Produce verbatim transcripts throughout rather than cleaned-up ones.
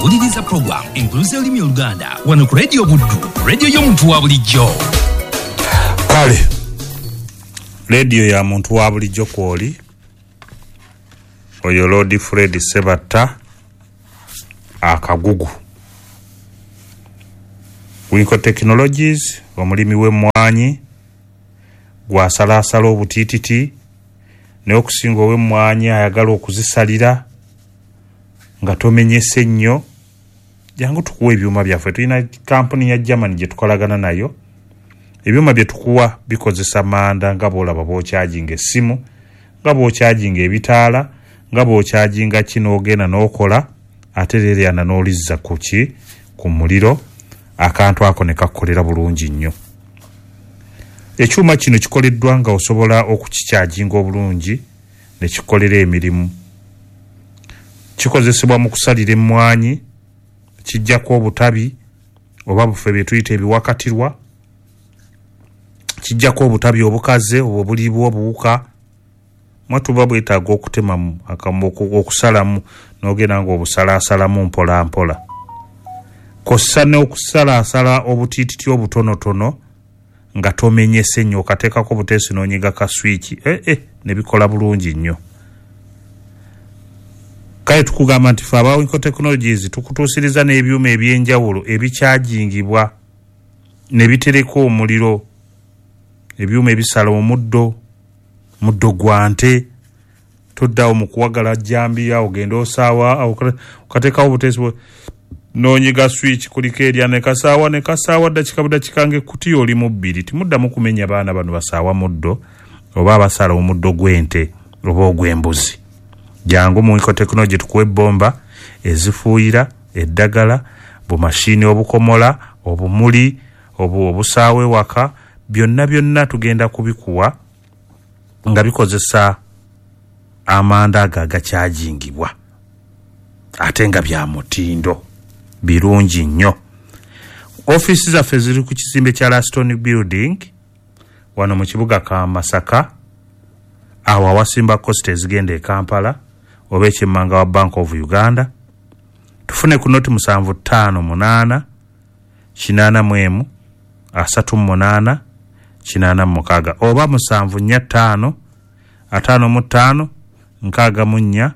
Owuliriza program Enkuluze y'Olulimi Oluganda wano ku Radio Buddu, radio y'omuntu wa bulijjo. Kale radio ya muntu wa bulijjo kwoli oyo Lord Fred Sebatta akagugu Winko Technologies, omulimi w'emmwanyi gwasalaasala obutiititi, naye okusinga ow'emmwanyi ayagala okuzisalira nga tomenyese nnyo, jangu tukuwa ebyuma byaffe. Tulina kampuni ya Germany gye tukolagana nayo. Ebyuma bye tukuwa bikozesa manda, nga bw'olaba bw'okyajinga essimu, nga bw'okyajinga ebitaala, nga bw'okyajinga kino, ogenda n'okola ate leeryana n'olizza ku ki ku muliro, akantu ako ne kakukolera bulungi nnyo. Ekyuma kino kikoleddwa nga osobola okukikyajinga obulungi ne kikolera emirimu. Kikozesebwa mu kusalira emmwanyi, kijjako obutabi oba bufe bye tuyita ebiwakatirwa, kijjako obutabi obukaze obwo buliibwa obuwuka, mwatuba bwetaaga okutemamu okusalamu n'ogenda ng'obusalaasalamu mpola mpola, kw'ossa n'okusalaasala obutiititi obutonotono nga tomenyese nnyo, okateekako buteesi n'onyiga ka swiki, eh, eh, ne bikola bulungi nnyo. Kale tukugamba nti ffe aba Winko Technologies tukutuusiriza n'ebyuma ebyenjawulo ebikyajingibwa ne bitereka omuliro, ebyuma ebisala omuddo, muddo gwa nte, toddawo mu kuwagala jjambiya, ogenda osaawa, okateekawo obuteesi n'onyiga switch, kuliko erya ne kasaawa ne kasaawa ddakika budakika ng'ekkutiya oli mu bbiri. Timuddamu kumenya baana bano basaawa muddo oba abasala omuddo gw'ente oba ogw'embuzi. Jangu mu Winko Technology tukuwe ebbomba ezifuuyira eddagala, bumashiini obukomola, obumuli, obu obusaawa ewaka, byonna byonna tugenda kubikuwa nga bikozesa amanda ago agakyajingibwa ate nga bya mutindo, birungi nnyo. Ofiisi zaffe ziri ku kizimbe kya Laston Building wano mu kibuga ka Masaka, awo awasimba costa ezigenda e Kampala oba ekyemmanga wa Bank of Uganda. Tufune ku noti musanvu ttaano munaana kinaana mu emu asatu mu munaana kinaana mu mukaaga oba musanvu nnya ttaano ataano mu ttaano nkaaga mu nnya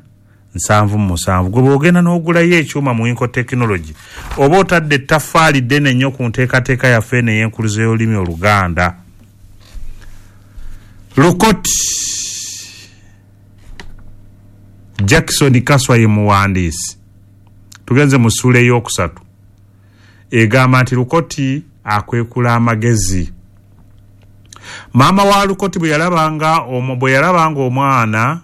nsanvu mu musanvu. Gwe bw'ogenda n'ogulayo ekyuma mu Winko Technology oba otadde ettaffaali ddene nnyo ku nteekateeka yaffe eno ey'enkuluze y'olulimi Oluganda. Lukoti Jackson Kaswa ye muwandiisi. Tugenze mu ssuula ey'okusatu egamba nti Lukoti akwekula amagezi. Maama wa Lukoti bwe yalabanga bwe yalabanga omwana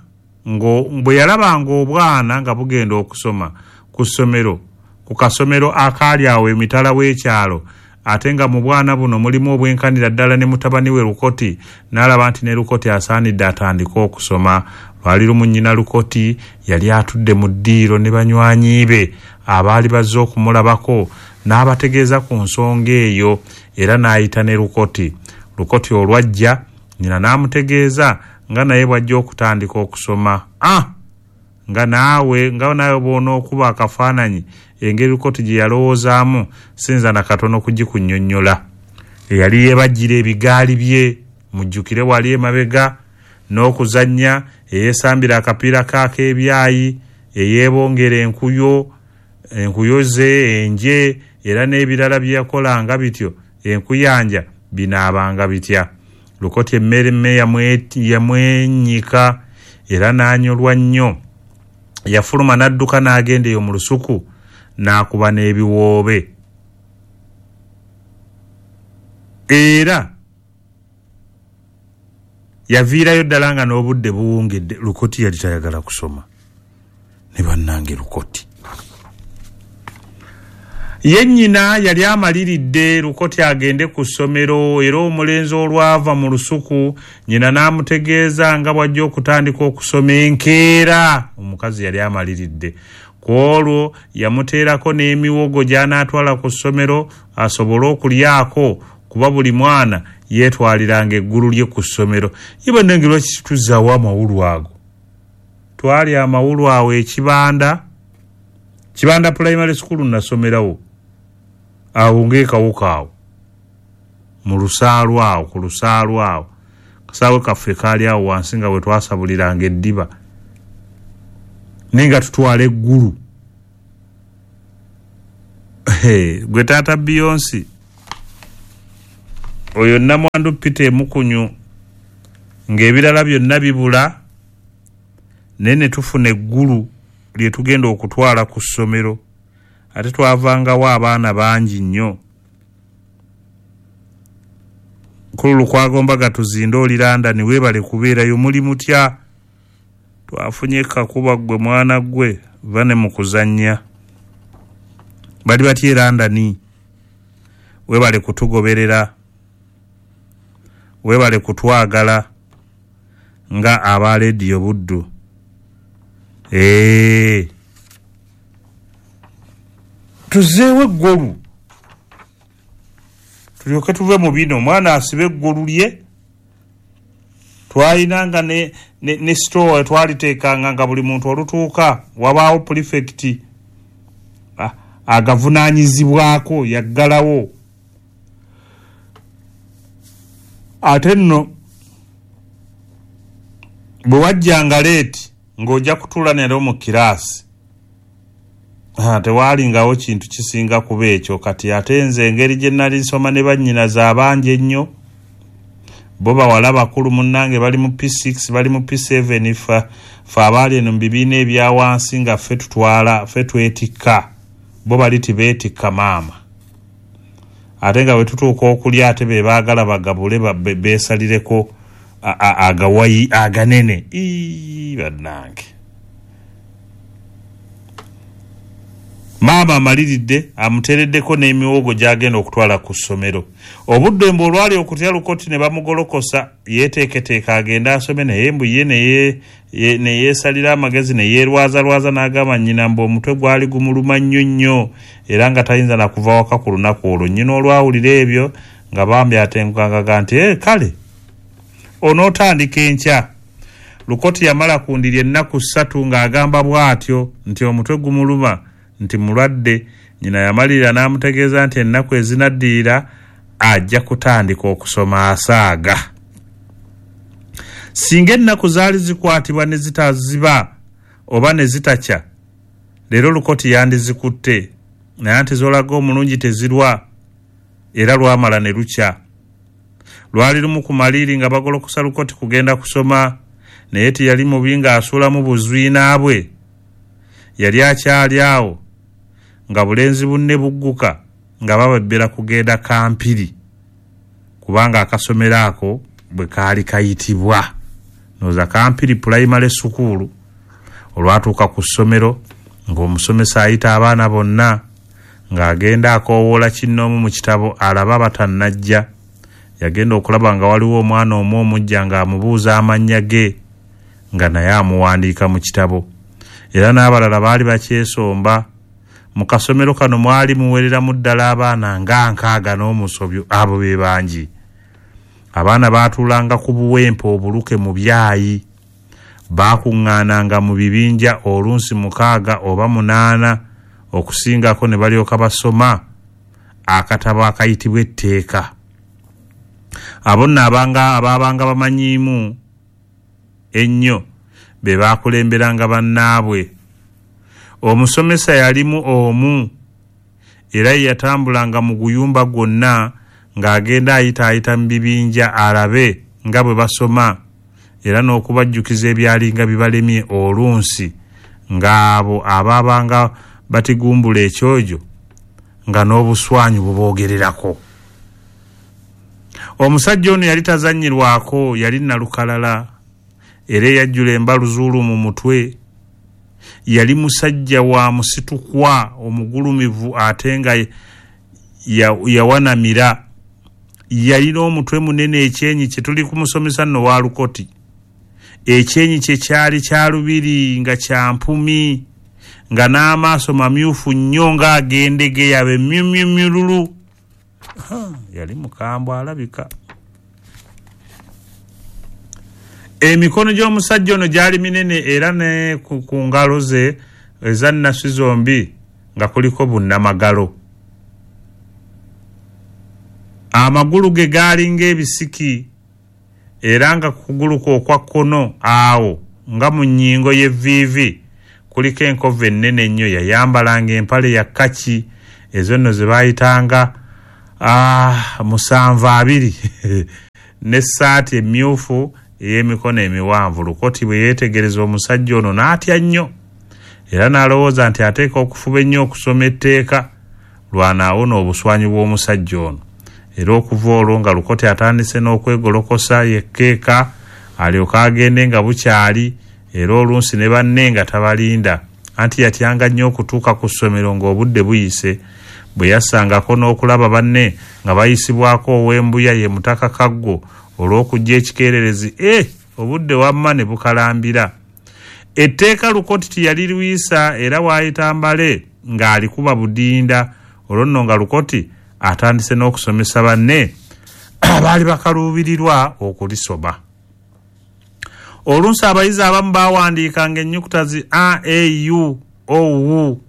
bwe yalabanga obwana nga bugenda okusoma ku ssomero ku kasomero akaali awo emitala w'ekyalo, ate nga mu bwana buno mulimu obwenkanira ddala ne mutabani we Lukoti, n'alaba nti ne Lukoti asaanidde atandike okusoma. Lwali lumu nnyina Lukoti yali atudde mu ddiiro ne banywanyi be abaali bazze okumulabako, n'abategeeza ku nsonga eyo era n'ayita ne Lukoti. Lukoti olwajja nnyina n'amutegeeza nga naye bw'ajja okutandika okusoma. Ah! Nga naawe nga naawe bw'onookuba akafaananyi engeri Lukoti gye yalowoozaamu sinza na katono kugikunnyonnyola. Eyali yeebajjira ebigaali bye, mujjukire wali emabega, n'okuzannya, eyeesambira akapiira k'ak'ebyayi, eyeebongera enkuyo, enkuyo ze, enje, era n'ebirala bye yakolanga bityo, enkuyanja binaabanga bitya. Lukoti emmere yamwenyika era n'anyolwa nnyo. Yafuluma n'adduka n'agenda eyo mu lusuku n'akuba n'ebiwoobe. Era yaviirayo ddala nga n'obudde buwungedde. Lukoti yali tayagala kusoma. Ne bannange Lukoti ye nnyina yali amaliridde Lukoti agende ku ssomero, era omulenzi olwava mu lusuku nnyina n'amutegeeza nga bw'ajja okutandika okusoma enkeera. Omukazi yali amaliridde. Ku olwo yamuteerako n'emiwogo gy'anaatwala ku ssomero asobole okulyako, kuba buli mwana yeetwaliranga eggulu lye ku ssomero. Ye bannange lwaki tuzzaawo amawulu ago? Twali amawulu awo ekibanda Kibanda Primary School nasomerawo awo ng'ekawuka awo mu lusaalu awo ku lusaalu awo kasaawe kaffe kaali awo wansi nga bwe twasabuliranga eddiba naye nga tutwala eggulu. Gwe taata Beyonce oyo namwandu Peter Emukunyu ng'ebirala byonna bibula naye ne tufuna eggulu lye tugenda okutwala ku ssomero ate twavangawo abaana bangi nnyo. Nkulu Lukwago Mbaga tuzinde oli London weebale kubeerayo muli mutya twafunye kakuba ggwe mwana ggwe va ne mu kuzannya bali batya e London weebale kutugoberera weebale kutwagala nga aba Leediyo Buddu. Ee tuzeewo eggolu tulyoke tuve mu bino omwana asibe eggolu lye twayinanga ne, ne, ne store twaliteekanga nga buli muntu olutuuka wabaawo prefect agavunaanyizibwako yaggalawo ate nno bwe wajjanga leeti ng'ojja kutuula nero mu kiraasi tewaalingawo kintu kisinga kuba ekyo. Kati ate nze engeri gye nali nsoma ne bannyinaze abangi ennyo bo bawala bakulu munnange bali mu P six bali mu P seven fa fe abaali eno mu bibiina ebya wansi nga ffe tutwala ffe twetikka bo bali tibeetikka maama ate nga bwe tutuuka okulya ate be baagala bagabule beesalireko agawayi aganene. Ii bannange maama amaliridde amuteereddeko n'emiwogo gy'agenda okutwala ku ssomero. Obudde mbu olwali okutya Lukoti ne bamugolokosa yeeteeketeeka agende asome naye mbu ye ne yeesalira amagezi ne yeerwazalwaza n'agamba nnyina mbu omutwe gwali gumuluma nnyo nnyo era nga tayinza na kuva waka ku lunaku olwo. Nnyina olwawulira ebyo nga bambi atengukangaga nti ee kale onootandika enkya. Lukoti yamala ku ndiri ennaku ssatu ng'agamba bw'atyo nti omutwe gumuluma nti mulwadde. Nnyina yamalirira n'amutegeeza nti ennaku ezinaddirira ajja kutandika okusoma asaaga. Singa ennaku zaali zikwatibwa ne zitaziba oba ne zitakya leero Lukoti yandizikutte naye anti z'olaga omulungi tezirwa era lwamala ne lukya. Lwali lumu ku maliiri nga bagolokosa Lukoti kugenda kusoma naye teyali mubi ng'asuulamu buzwina bwe. Yali akyali awo nga bulenzi bunne bugguka nga bababbera kugenda Kampiri kubanga akasomero ako bwe kaali kayitibwa nooza Kampiri Primary School. Olwatuuka ku ssomero ng'omusomesa ayita abaana bonna ng'agenda akoowoola kinnoomu mu kitabo alaba batannajja. Yagenda okulaba nga waliwo omwana omu omujja ng'amubuuza amannya ge nga naye amuwandiika mu kitabo era n'abalala baali bakyesomba. Mu kasomero kano mwali muwereramu ddala abaana nga nkaaga n'omusobyo abo be bangi. Abaana baatuulanga ku buwempe obuluke mu byayi baakuŋŋaananga mu bibinja olunsi mukaaga oba munaana okusingako ne balyoka basoma akatabo akayitibwa etteeka. Abo nno abanga abaabanga bamanyiimu ennyo be baakulemberanga bannaabwe. Omusomesa yalimu omu era ye yatambulanga mu guyumba gwonna ng'agenda ayitaayita mu bibinja alabe nga bwe basoma era n'okubajjukiza ebyalinga bibalemye olunsi ng'abo abaabanga batigumbula ekyojo nga n'obuswanyu buboogererako. Omusajja ono yali tazannyirwako, yali nnalukalala era eyajjula embaluzuulu mu mutwe. Yali musajja wa musitukwa omugulumivu ate nga yawanamira. Yalina omutwe munene ekyenyi kye tuli kumusomesa nno wa Lukoti. Ekyenyi kye kyali kya lubiri nga kya mpumi nga n'amaaso mamyufu nnyo ng'agendegeya be myumyumyululu. Yali mukambwe alabika. Emikono gy'omusajja ono gyali minene era ne ku ngalo ze eza nnasi zombi nga kuliko bunnamagalo. Amagulu ge gaalinga ebisiki era nga ku kugulu kwe okwa kkono awo nga mu nnyingo y'evviivi kuliko enkovu ennene ennyo. Yayambalanga empale ya kkaki ezo nno ze baayitanga ah, musanvu abiri n'essaati emyufu ey'emikono emiwanvu. Lukoti bwe yeetegereza omusajja ono n'atya nnyo era n'alowooza nti ateeka okufuba ennyo okusoma etteeka lw'anaawona obuswanyu bw'omusajja ono. Era okuva olwo nga Lukoti atandise n'okwegolokosa yekkeeka alyoke agende nga bukyali, era olunsi ne banne nga tabalinda, anti yatyanga nnyo okutuuka ku ssomero ng'obudde buyise. Bwe yassangako n'okulaba banne nga bayisibwako ow'embuya ye Mutaka Kaggo olw'okujja ekikeererezi, eh, obudde wamma ne bukalambira. Etteeka Lukoti teyali luyisa era waayita mbale ng'alikuba budinda. Olwo nno nga Lukoti atandise n'okusomesa banne abaali bakaluubirirwa okulisoma. Olunsi abayizi abamu baawandiikanga ennyukuta zi a, e, u, o, u.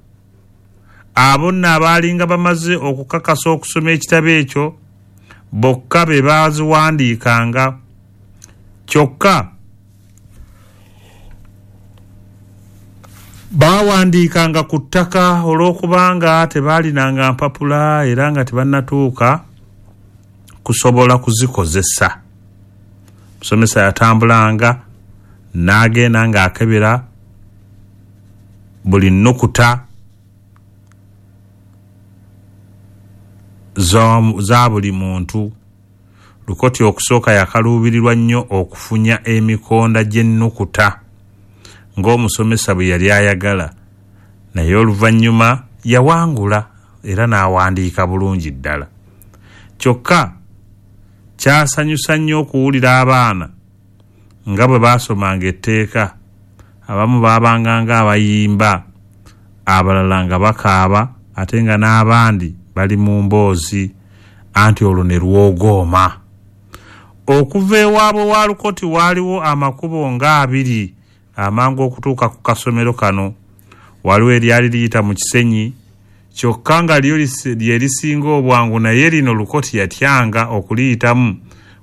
Abo nno abaalinga bamaze okukakasa okusoma ekitabo ekyo bokka be baaziwandiikanga. Kyokka baawandiikanga ku ttaka olw'okubanga tebaalinanga mpapula era nga tebannatuuka kusobola kuzikozesa. Musomesa yatambulanga n'agenda ng'akebera buli nnukuta za buli muntu. Lukoti okusooka yakaluubirirwa nnyo okufunya emikonda gy'ennukuta ng'omusomesa bwe yali ayagala, naye oluvannyuma yawangula era n'awandiika bulungi ddala. Kyokka kyasanyusa nnyo okuwulira abaana nga bwe baasomanga etteeka. Abamu baabanga ng'abayimba, abalala nga bakaaba, ate nga n'abandi bali mu mboozi, anti olwo ne lwogooma. Okuva ewaabwe wa Lukoti waaliwo amakubo nga abiri amangu okutuuka ku kasomero kano. Waliwo eryali liyita mu Kisenyi, kyokka nga lyo lye lisinga obwangu, naye lino Lukoti yatyanga okuliyitamu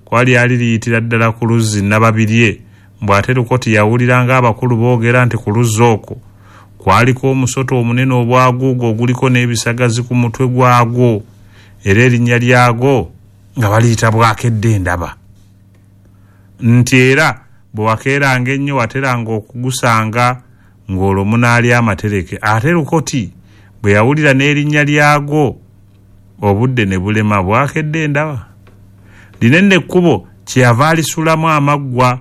kuba lyali liyitira ddala ku luzzi Nababirye. Mbw ate Lukoti yawulira ng'abakulu boogera nti ku luzzi okwo kwaliko omusota omunene obwaguuga oguliko n'ebisagazi ku mutwe gwagwo, era erinnya lyagwo nga baliyita Bwakedde Endaba. Nti era bwe wakeeranga ennyo wateranga okugusanga ng'olwo munaali amatereke. Ate Lukoti bwe yawulira n'erinnya lyagwo obudde ne bulema. Bwakedde Endaba lino nno ekkubo kyeyava alisulamu amaggwa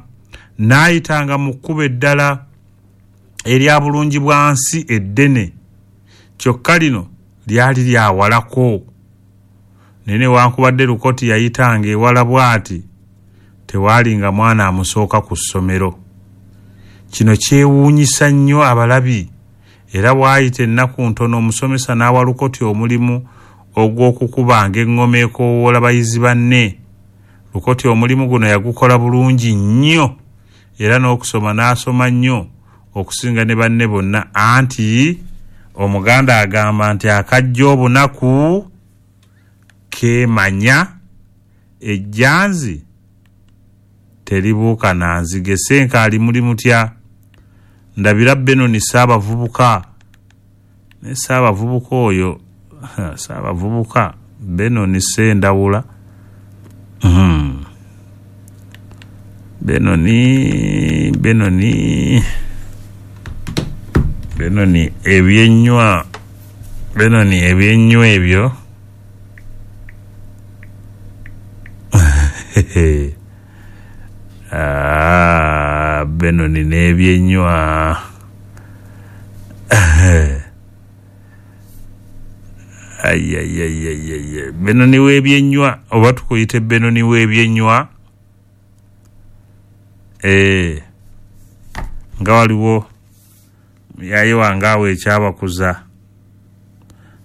n'ayitanga mu kkubo eddala erya bulungi bwa nsi eddene, kyokka lino lyali lyawalako. Naye newankubadde Lukoti yayitanga ewala bw'ati, tewaalinga mwana amusooka ku ssomero. Kino kyewuunyisa nnyo abalabi, era bw'ayita ennaku ntono omusomesa n'awa Lukoti omulimu ogw'okukubanga eŋŋoma ekoowoola bayizi banne. Lukoti omulimu guno yagukola bulungi nnyo era n'okusoma n'asoma nnyo okusinga ne banne bonna, anti Omuganda agamba nti akajja obunaku keemanya, ejjanzi teribuuka na nzige. Ssenkaali muli mutya? Ndabira Benoni Ssaabavubuka. Naye Ssaabavubuka oyo, Ssaabavubuka Benoni Ssendawula. Mm. Benoni, Benoni, Benoni ebyenywa, Benoni ebyenywa ebyo. Ah, Benoni n'ebyenywa. Ayayayayay, Benoni w'ebyenywa oba tukuyite Benoni w'ebyenywa? Eh, nga waliwo yaye wange awo ekyabakuza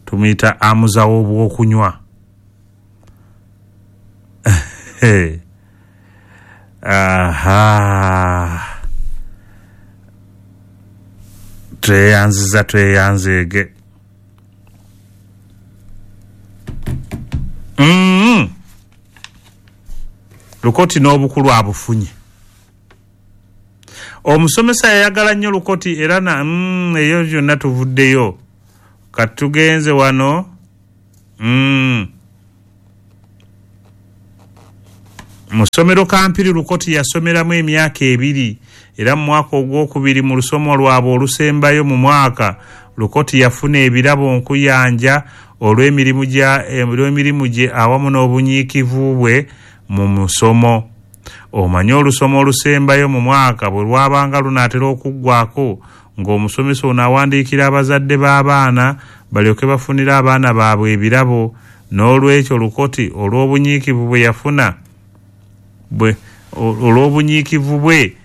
tumuyita amuzawo obw'okunywa. Aha, tweyanziza tweyanzeege. Lukoti n'obukulu abufunye. Omusomesa yayagala nnyo Lukoti era na mm, eyo yonna tuvuddeyo. Kati tugenze wano mm. Mu ssomero Kampiri Lukoti yasomeramu emyaka ebiri, era mu mwaka ogwokubiri mu lusomo lwabwe olusembayo mu mwaka, Lukoti yafuna ebirabo nkuyanja olw'emirimu gya olw'emirimu gye awamu n'obunyiikivu bwe mu musomo. Omanyi olusomo olusembayo mu mwaka bwe lwabanga lunaatera okuggwako, ng'omusomesa ono awandiikira abazadde b'abaana balyoke bafunire abaana baabwe ebirabo. N'olwekyo Lukoti olw'obunyiikivu bwe yafuna bwe olw'obunyiikivu bwe